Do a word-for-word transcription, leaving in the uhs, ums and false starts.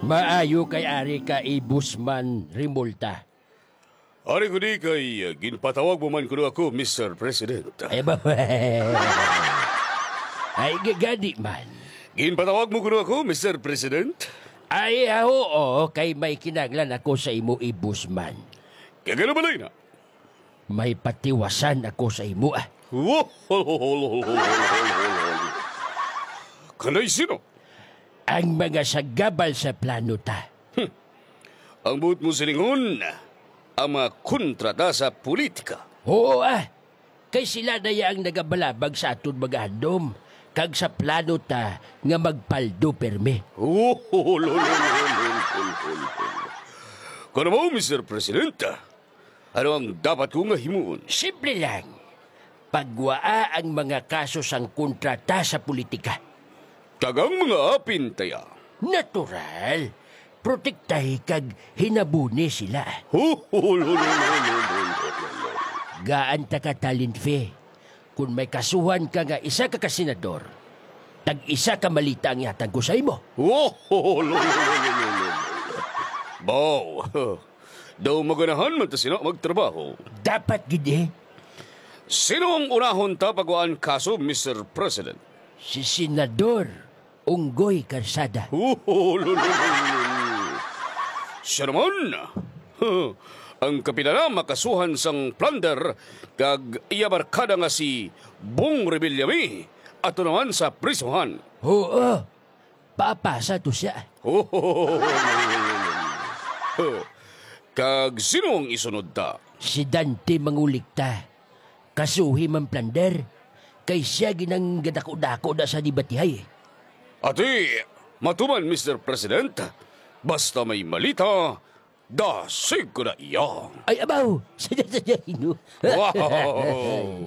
Maayo kay ari ka, Ibusman Rimulta. Ari ko di kay, uh, ginpatawag mo man kuno ako, Mister President. Ay, ba? Ay, gagadi man. Ginpatawag mo kuno ako, Mister President? Ay, ah, oo, kay may kinahanglan ako sa imo, Ibusman. Kagano balay na? May patiwasan ako sa imo, ah. Kanay sino? Ang mga sagabal sa plano ta. Hmm. Ang buot mo silingon, ang mga kontra ta sa politika. Oo, ah. Kay sila na ya ang nagabalabag sa aton mga handom, kag sa plano ta nga magpaldo pirmi. Kuno mo, Mister President, ano ang dapat ko nga himuon? Simple lang. Pagwaa ang mga kaso sang kontra ta sa politika. Kag ang mga apin ta ya? Natural. Protektahi kag hinabuni sila. Gaan ta ka talent fee. Kon may kasuhan ka nga isa ka kasenador, tag-isa ka malita ang ihatag ko sa imo. Wow! Daw maganahan man ta sina magtrabaho. Dapat gid, eh. Sino ang unahon ta pagwaan kaso, Mister President? Si Senador Unggoy Karsada. Siya naman, ang kapila na makasuhan sang plunder kag iya barkada nga si Bong Revillame ato naman sa prisuhan. Oo, papasa to siya. Kag sino ang isunod ta? Si Dante Mangulikta. Kasuhi man plunder, kay siya ginang gadako-dako na sa debatihay. Ati, matuman, Mister President, basta may malita, dasig ko na iya. Ay, abaw! Sadya, sadya, Ginoo. Wow!